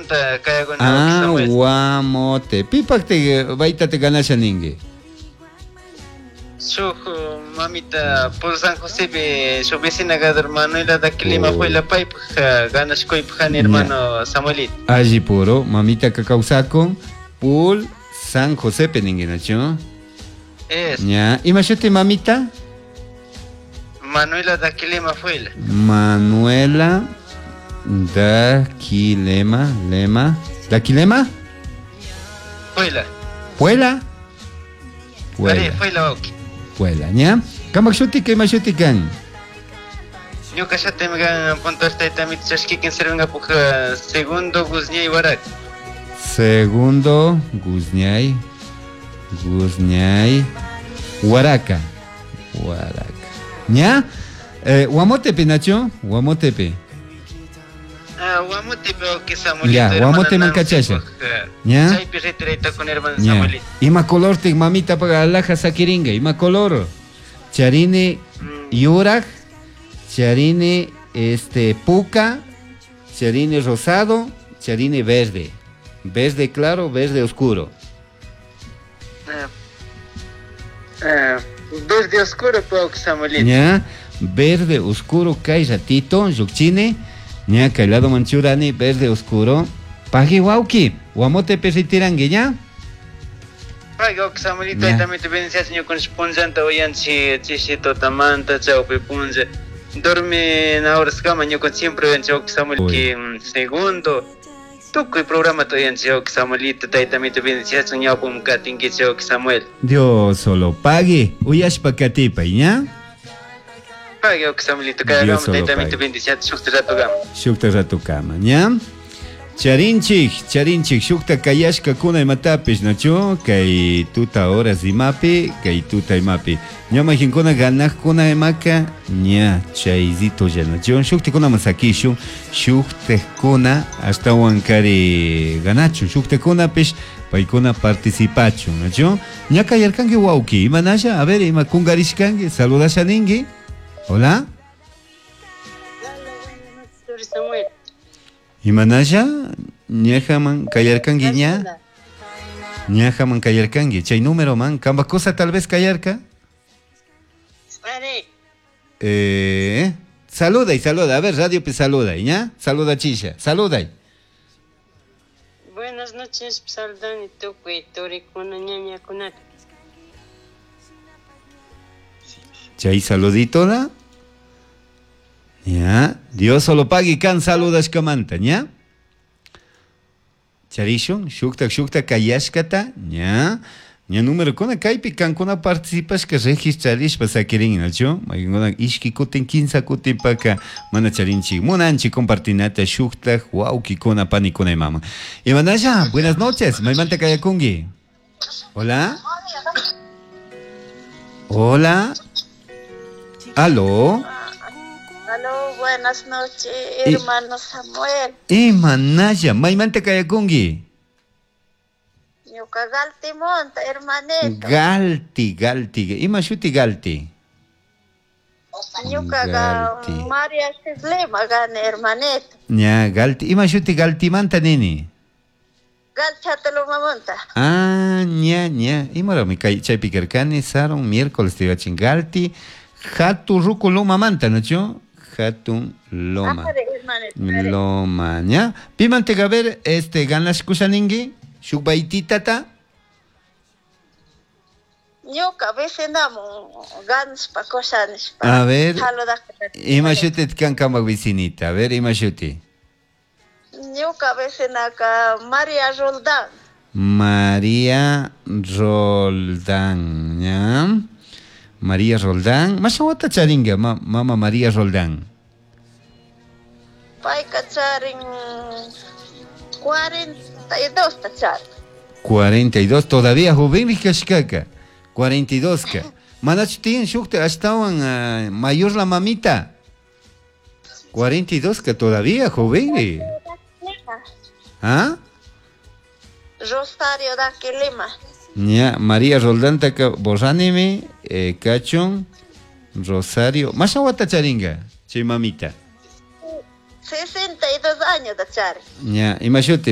Guamotemanta kayakuni Ah, Samuel. Guamote. Pipakti baytate ganasha ningi. Shuk mamita por San Josepi shuk vecina gadar Manuela Daquilima Oh. fue la paypaj ganashkuypaj hermano Samuelito. Alli puro, mamita kawsakun, pul San José ningi nachu. Es Ña, ima shuti mamita? Manuela Daquilima fue la. Manuela Daquilema, Lema, Daquilema? Fue la. Puela. Are, Puela, fue la wawqi. Puela, ña. Kamak shuti ima shuti kan? Ñuka shutim kan puntual taytamito chashkikin sirvinkapuj segundo Guzñay Warak. Segundo Guzñay, Guzñay, Huaraca, Huaraca. ¿Ya? Guamotepe, Nacho, Guamotepe. Ah, Guamotepe wawqi Samuelito. Ya, hermana Guamote Nancy mankachasha. puj, Ya. Chaypi retiraytakun hermano Ya. Samuelito. Ima color te mamita paga alhaja sakiringa, ima color. Charini yurak, charini este puca, charini rosado, charini verde. Verde claro, verde oscuro. Verde oscuro wawqi Samuelito. ¿Ya? Verde oscuro kay ratito, yukchini, ña kay lado manchurani, verde oscuro. Pagi wauki, guamote pesitirangue, ¿ya? Pay wawqi Samuelito Ya. taytamito bendicias ñukanchik punllanta uyanchik chishi tutamanta chawpi punlla. Dormi horaskama ñukanchik siempre uyanchik wawqi Samuel Uy. que segundo tukuy programata uyanchik wawqi Samuelito taytamito bendicias ñawpam katinkichik wawqi Samuel. Dios solo pague, uyashpa katipay, ¿ya? Pay wawqi Samuelito Dios kayakama solo taytamito pague. bendicias shukta ratukama. Shukta ratukama, ¿ya? Charinchik, charinchik, shukta kayashka kuna imatapish, nachu? Kay tuta horas imapi, kay tuta imapi. Ña majinkuna ganajkuna imaka, ña chayzito ya, nachu? Shuktikuna masakishun, shuktekuna ashtawan kari ganachu, shuktekunapish, paykuna participachun, nachu? Ña kayarkanki wawki, imanasha, a ver, ima kungarishkanki, saludasha ninki. Hola. Samuel. Imanasha, ñajaman kayarkanki ña. Ñajaman kayarkanki, chay número man, kamba cosa tal vez kayarka. Are, Saluda y saluda, a ver, radio pe saluda, ¿ya? Saluda chisha, saluda. buenas noches, saludani tukuy turikuna ñañakunata. Chay saludito da. Ya, Dios solo pague kan saludas kamanta, ¿ya? Charishun, shukta shukta kayashkata, ña. Ña número kuna kaypi kankuna participashka registrarishpa sakirin, nachu? Mayqinkuna ishki kutin, kinsa kutin paka mana charinchik munanchik compartinata shukta wawkikuna panikuna imama. Imanasha, buenas noches, maymanta kayakunki. Hola. Hola. Aló. Aló, buenas noches, hermano Samuel. Imanasha, maymanta kayakunki. Ñuka Galtimonta, hermanito. Galti, Galti. Ima shuti Galti? Ñuka Galti. María Cislema gane, hermanito. Ña, Galti. Ima shuti Galtimanta nini? Galchatalomamonta. Ah, ña, ña. Imara mi kay chaypi karkani, saron miércoles te iba Galti. Hatu ruku loma manta, ¿no? Hatun loma. Are, hermanito. are. Loma, ña. Pimante gaber, este, ganas kusaningi, shukbaititata. Ñuka vecinamu ganaspa kushanispa. A ver. Saludakta. Ima shuti kan kamak vecinita. A ver, ima shuti. Ñuka vecinaka María Roldán. María Roldán, ¿ya? María Roldán. Mashawata charinga, mama María Roldán. Payka charin 42 ta charin. 42, todavía joven kashkaka. 42 ka. Manachu tiyan shukta ashtawan mayor la mamita. 42 ka todavía joven. ¿Ah? Rosario Daquilima. Ya, María Roldán taka borranime, cachón, Rosario. Mashawata charinga, chay mamita. 62 años da charin. Ya, imashuti.